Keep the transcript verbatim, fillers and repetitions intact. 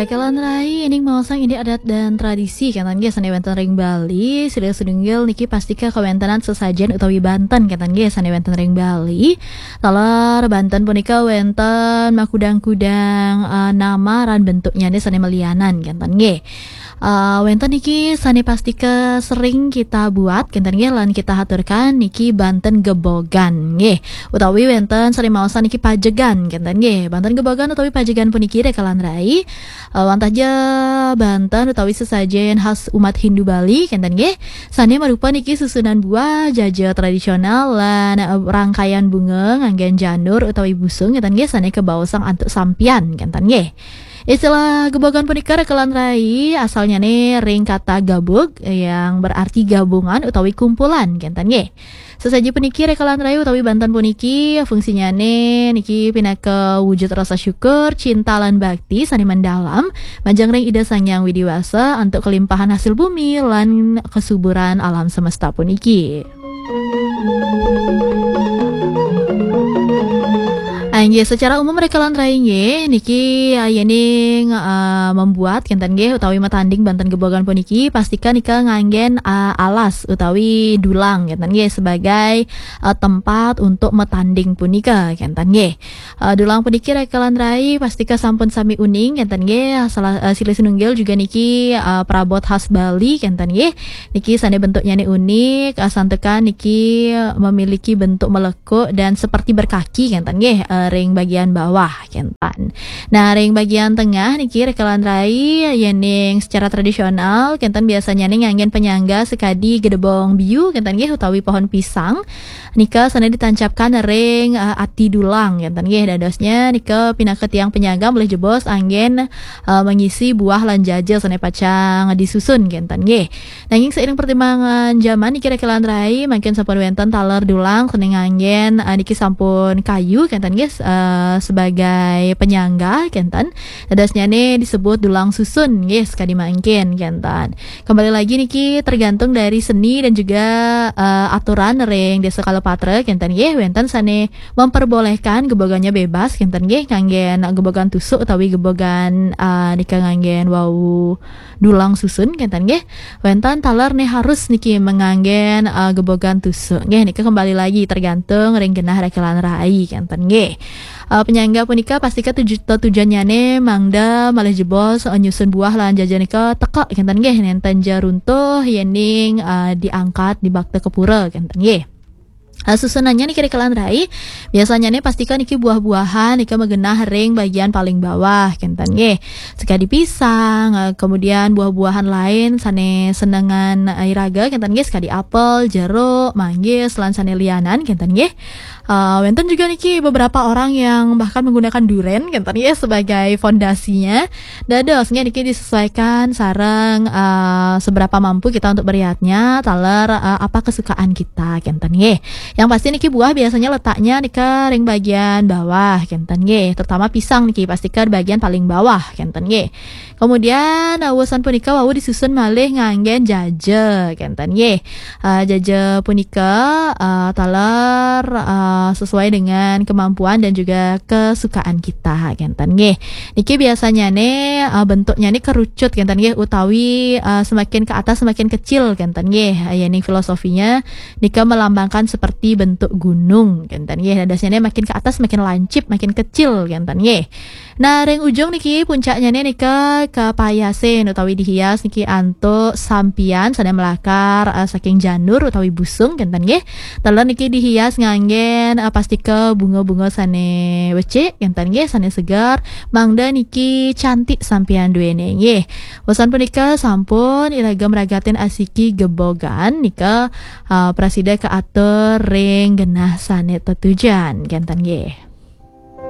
Kalan rai, ining maosang indik adat dan tradisi, kenten nggih, sane wenten ring Bali, silih sinunggil niki pastika kawentanan sesajen utawi banten, kenten nggih, sane wenten ring Bali. Taler banten punika wenten makudang-kudang, eh, nama ran bentuknyane sane malianan, kenten nggih. Eh, wenten niki sane pastika sering kita buat, kenten nggih, lan kita haturkan niki banten gebogan, nggih. Utawi wenten sane maosan niki pajegan, kenten nggih. Banten gebogan utawi pajegan puniki, rekalan rai, eh, wantah ja banten utawi sesajen khas umat Hindu Bali, kenten nggih. Sane marupa niki susunan buah, jaja tradisional, lan, eh, rangkaian bunga nganggen janur utawi busung, kenten nggih, sane kabaosang antuk sampian, kenten nggih. Istilah gebogan punika, rekalan rai, asalnyane ring kata gabug yang berarti gabungan utawi kumpulan, kenten nggih. Sesaji puniki, rekalan rai, utawi banten puniki, fungsinyane niki pinaka wujud rasa syukur, cinta lan bakti sane mendalam majeng ring Ida Sang Hyang Widi Wasa antuk kelimpahan hasil bumi lan kesuburan alam semesta puniki. Ah, inggih, secara umum, rekalan rai nggih, niki, ah, yening, ah, membuat, kenten nggih, utawi matanding banten gebogan puniki, pastika nika nganggen, ah, alas utawi dulang, kenten nggih, sebagai, ah, tempat untuk matanding punika, kenten nggih. Ah, dulang puniki, rekalan rai, pastika sampun sami uning, kenten nggih, salah, ah, silih sinunggil juga niki, ah, perabot khas Bali, kenten nggih. Niki sane bentuknyane unik, ah, santukan niki memiliki bentuk melekuk dan seperti berkaki, kenten nggih, eh, ring bagian bawah, kenten. Nah, ring bagian tengah niki, rekalan rai, yening secara tradisional, kenten, biasanyane nganggen penyangga sakadi gedebong biu, kenten nggih, utawi pohon pisang. Nika sane ditancapkan ring, eh, ati dulang, kenten nggih. Dadosnya nika pinaka tiang penyangga malih jebos anggen, eh, mengisi buah lan jaja sane pacang disusun, kenten nggih. Nanging seiring pertimbangan jaman niki, rekalan rai, mangkin sampun wenten taler dulang sane nganggen, eh, niki sampun kayu, kenten nggih, eh, sebagai penyangga, kenten. Dadosnyane disebut dulang susun nggih, sakadi mangkin, kenten. Kembali lagi niki tergantung dari seni dan juga, eh, aturan ring Desa Kalapatra, kenten nggih, wenten sane memperbolehkan gebogannya bebas, kenten nggih, nganggen gebogan tusuk utawi gebogan, eh, nika nganggen wau dulang susun, kenten nggih. Wenten taler ne harus niki manganggen, eh, gebogan tusuk. Nggih, nika kembali lagi tergantung ring genah, rekalan rai, kenten nggih. Eh, penyangga punika pastika tuju-, tetujonnyane mangda malih jebos, eh, nyusun buah lan jaja nika teka, kenten nggih, nenten ja runtuh yening, eh, diangkat dibakta ka pura, kenten nggih. Eh, susunannya niki, rekalan rai, biasanyane pastika niki buah-buahan nika magenah ring bagian paling bawah, kenten nggih. Sekadi pisang, eh, kemudian buah-buahan lain sane senengan, eh, iraga, kenten nggih, sekadi apel, jeruk, manggis, lan sane lianan, kenten nggih. Eh, wenten juga niki beberapa orang yang bahkan menggunakan duren, kenten nggih, sebagai fondasinya. Dados nggih, niki disesuaikan sareng, eh, seberapa mampu kita untuk meriatnya, taler, eh, apa kesukaan kita, kenten nggih. Yang pasti niki buah biasanya letaknya nika ring bagian bawah, kenten nggih. Terutama pisang niki pastika bagian paling bawah, kenten nggih. Kemudian, eh, wusan punika wau disusun malih nganggen jaja, kenten nggih. Eh, jaja punika, eh, taler, eh, sesuai dengan kemampuan dan juga kesukaan kita, kenten nggih. Niki biasanyane, eh, bentuknyane kerucut, kenten nggih, utawi, eh, semakin ke atas semakin kecil, kenten nggih. Eh, yening filosofinya nika melambangkan seperti bentuk gunung, kenten nggih. Dadosnyane makin ke atas makin lancip, makin kecil, kenten nggih. Nah, ring ujung niki, puncaknyane nika kapayasin utawi dihias niki antuk sampian sane melakar, eh, saking janur utawi busung, kenten nggih. Taler niki dihias nganggen, eh, pastika bunga-bunga sane becik, kenten nggih, sane segar. Mangda niki cantik sampian duene nggih. Wusan punika sampun iraga mragatin asiki gebogan nika, eh, prasida kaatur ring genah sane tetujon, kenten nggih.